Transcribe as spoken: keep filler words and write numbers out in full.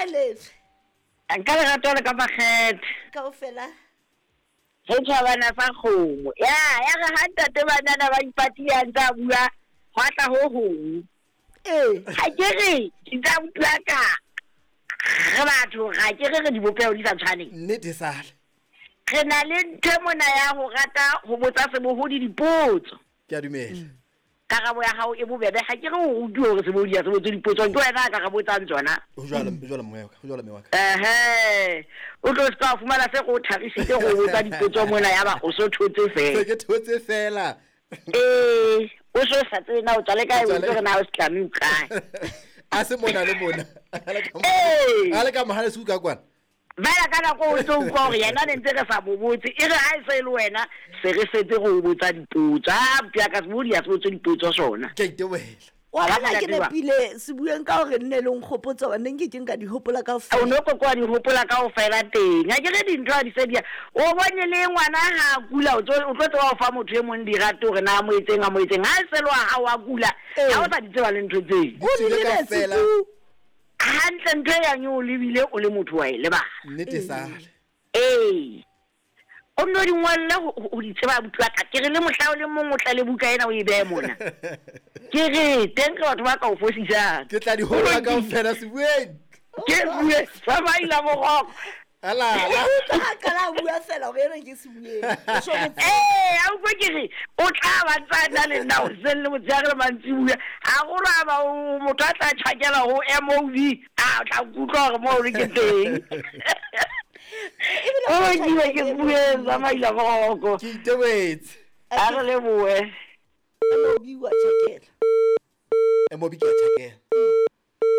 Kae letswe? Nka lerato le ka makgethe. Kaofela. Re tjhabana sa kgomo. Ya, ya re ha ntate banana ba ipatile a ntse a bua, hwa tla ho hong. Ee. Ha ke re, ke tla utlwa ka re batho ga ke re re dibopeho di sa tshwaneng. Nnete sale. Re na le ntho mona ya ho rata ho botsa sebohodi dipotso. Ke a dumela. Karabo ya hao e bobebe, ha ke re o rutuwe hore sebohodi ha se botse dipotso, ke wena a ka re botsang tsona. Ho jwalo, ho jwalo mme wa ka, ho jwalo mme wa ka. Ehe. O tlo se ka fumana se go tharisitse go botsa dipotso mona ya ba o so thotse Se fela. ke thotse fela. Ee, o so sa tsebe na o tswa le kae, O o tswa le- itse hore na o setlame o kae. A se mona le mona. A le ka mo- Ee. A le ka mohale suka kwana. Fela ka nako o ntso utlwa hore yena ne ntse re sa mo botse, e re ha e se e le wena, se re setse go o botsa dipotso. Ah, motho ya ka sebohodi ha se botse dipotso sona. Ke a itebohela. Wa bona ke Ka mona nepile sebueng ka hore nne le nkgopotsa hobane ne nke ke nka di hopola O kaofela. no koko wa di hopola kaofela teng. Ha ke re dintho ha di se di ya. O bone le ngwana ha a kula, o tlo o tlo tseba ho fa motho e mong dirato hore na a mo etseng, a mo etseng. Ha e se le wa hao a kula, Ee. ha o sa di tseba le ntho tseo. Di O di tswile lebetse kaofela. tu. Hantle ntho e yang e o lebile o le motho wa e lebala. Nnete sale. Ee. O nno di ngolle ho ho di tseba abuti wa ka. Ke re le mohla o le mong o tla le buka ena o e behe mona. Ke re teng ke batho ba ka o fosisang. Ke tla di hopola kaofela sebueng. Ke bue tsamaila boroko. Ala ala. Utlwa ha qala a bua fela hore ena ke sebueng. O so mo- Ee, a utlwe ke re o tla ba ntsa na le nna hoseng le motshehare le mantsibuya. Haholo ha ba o motho a tla tjhakela ho M O B, a o tla nkutlwa hore moo le ke teng. Ebile O o lokile ke tjhakela bue tsamaila boroko. Ke itebohetse. A re lebohe. M O B wa tjhakela. M O B ke a tjhakela.